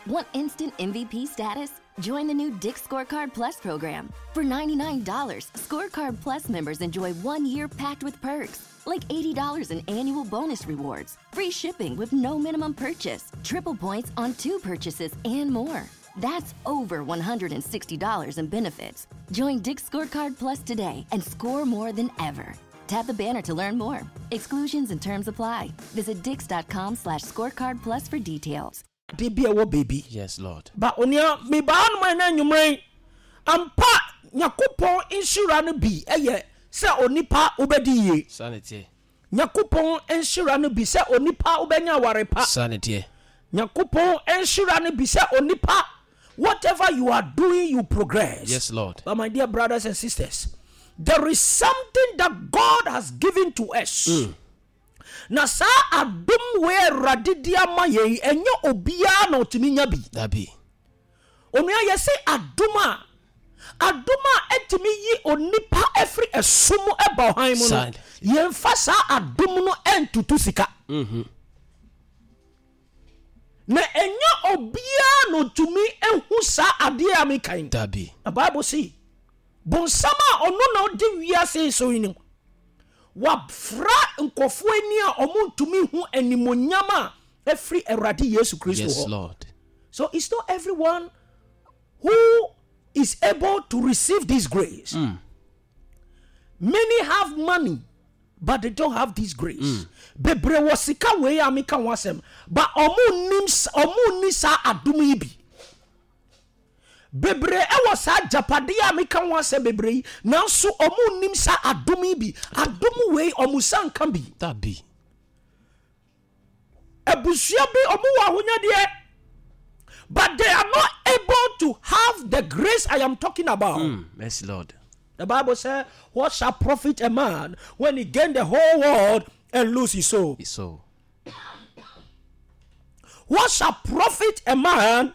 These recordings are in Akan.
Want instant MVP status? Join the new Dick's Scorecard Plus program. For $99, Scorecard Plus members enjoy 1 year packed with perks, like $80 in annual bonus rewards, free shipping with no minimum purchase, triple points on two purchases, and more. That's over $160 in benefits. Join Dick's Scorecard Plus today and score more than ever. Tap the banner to learn more. Exclusions and terms apply. Visit dicks.com/scorecardplus for details. De bi a ɛwɔ baabi. Yes, Lord. Ba onua, mebaa hanom ɛnɛ anwummerɛ yi. Ampa, Nyakopɔn nhyira no bi yɛ sɛ onipa wobɛdi yie. Saa na ɛteɛ. Nyakopɔn nhyira no bi sɛ onipa wobɛnya aware pa. Saa na ɛteɛ. Nyakopɔn nhyira no bi sɛ onipa, whatever you are doing, you progress. Yes, Lord. But my dear brothers and sisters, there is something that God has given to us. Na saa adom wei a Awurade de ama yɛn yi, ɛnyɛ obiara na ɔtumi nya bi. Dabi. Onua, yɛse adom a, adom a ɛtumi yi onipa afiri ɛsom mu ɛba ɔhan mu no, yɛmfa saa adom no ɛntutu sika. Na ɛnyɛ obiara na ɔtumi ehu saa adeɛ a meka yi. Dabi. Na Bible se, bonsam a ɔno na ɔdi wiase yi so yi no, wafra nkurɔfoɔ ani a wɔntumi hu animonyam a ɛfiri Awurade Yesu Kristo Yes, hɔ. Lord. So it's not everyone who is able to receive this grace. Many have money, but they don't have this grace. Bebree wɔ sika wei a meka ho asɛm, but ɔmo nnim, ɔmo nni saa adom yi bi. Bebree ɛwɔ saa agyapadeɛ a meka ho asɛm bebree yi, nanso ɔmo nnim saa adom yi bi. Adom wei ɔmo nsa nka bi. Dabi. Abusua bi ɔmo wɔ ahonyadeɛ, but they are not able to have the grace I am talking about. Yes, Lord. The Bible said, "What shall profit a man when he gain the whole world and lose his soul?" His soul. What shall profit a man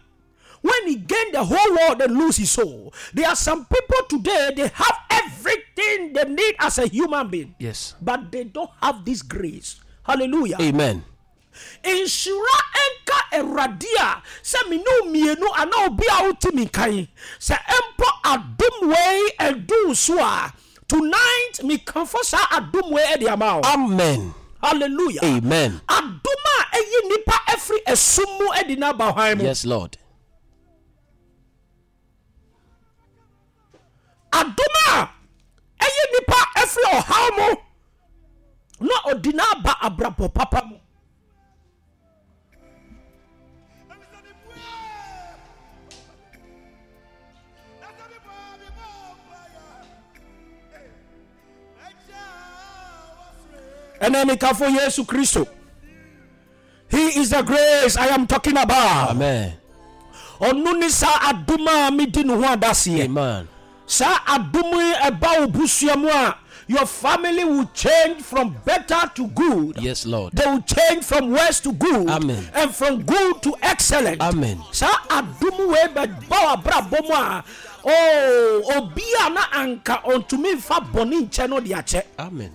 when he gain the whole world and lose his soul? There are some people today, they have everything they need as a human being. But they don't have this grace. Hallelujah. Amen. Nhyira nka Awurade a sɛ me ne wo mmienu anaa obi a wote me nkan sɛ mpo adom wei ɛdu wo so a, tonight mekamfo saa adom wei ɛde ama wo. Amen. Hallelujah. Amen. Adom a ɛyi nipa afiri esum mu ɛde no aba hwan mu. Yes, Lord. Adom a ɛyi nipa afiri ɔhaw mu na ɔde no aba abrabɔ papa mu. Ɛnna mekafo Yesu Kristo. He is the grace I am talking about. Amen. Ɔno ne saa adom a medi ne ho adaseɛ. Amen. Saa adom yi ɛba wo busua mu a, your family will change from better to good. Yes, Lord. They will change from worse to good. Amen. And from good to excellent. Amen. Saa adom wei bɛba w'abrabɔ mu a, oh, obi a na anka ɔntumi nfa bɔne nkyɛ no de akyɛ. Amen.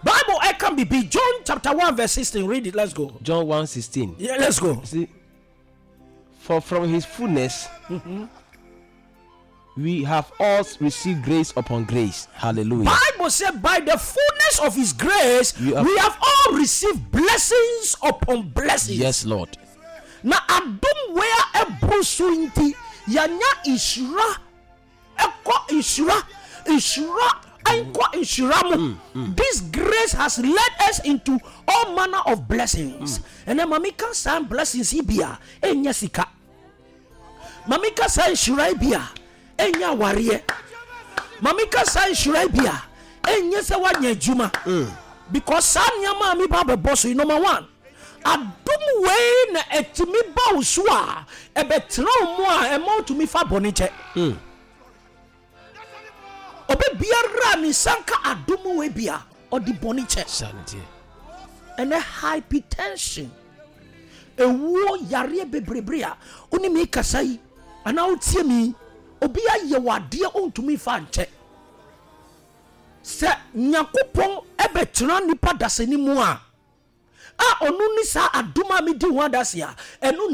Bible ɛka bibi, John chapter 1 verse 16. Read it, let's go. John 1:16. Yeah, let's go. See, for from his fullness we have all received grace upon grace. Hallelujah. Bible said by the fullness of his grace We we have all received blessings upon blessings. Yes, Lord. Na adom wei a ɛboro so nti yɛanya nhyira ɛkɔ nhyira, nhyira ɛnkɔ nhyira mu. This grace has led us into all manner of blessings. Ɛnɛ maame ka saa blessings yi bi a ɛnyɛ sika. Maame ka saa nhyira yi bi a ɛnyɛ awareɛ. Maame ka saa nhyira yi bi a ɛnyɛ sɛ woanya adwuma. Because saa nneɛma a meba abɛbɔ so yi, number one, adom wei na ɛtumi ba wo so a ɛbɛtena wo mu a ɛma wotumi fa bɔne kyɛ. Obi biara a ne nsa nka adom wei bi a ɔde bɔne kyɛ. Saa ne teɛ. Ɛnɛ hypertension, ewuo, yareɛ bebrebe a wone me kasa yi anaa wotie me yi, obi ayɛ wɔ adeɛ ɔntumi fa nkyɛ. Sɛ Nyankopɔn ɛbɛtena nipa dasani mu a ɔno ne saa adom a medi ho adase a ɛno na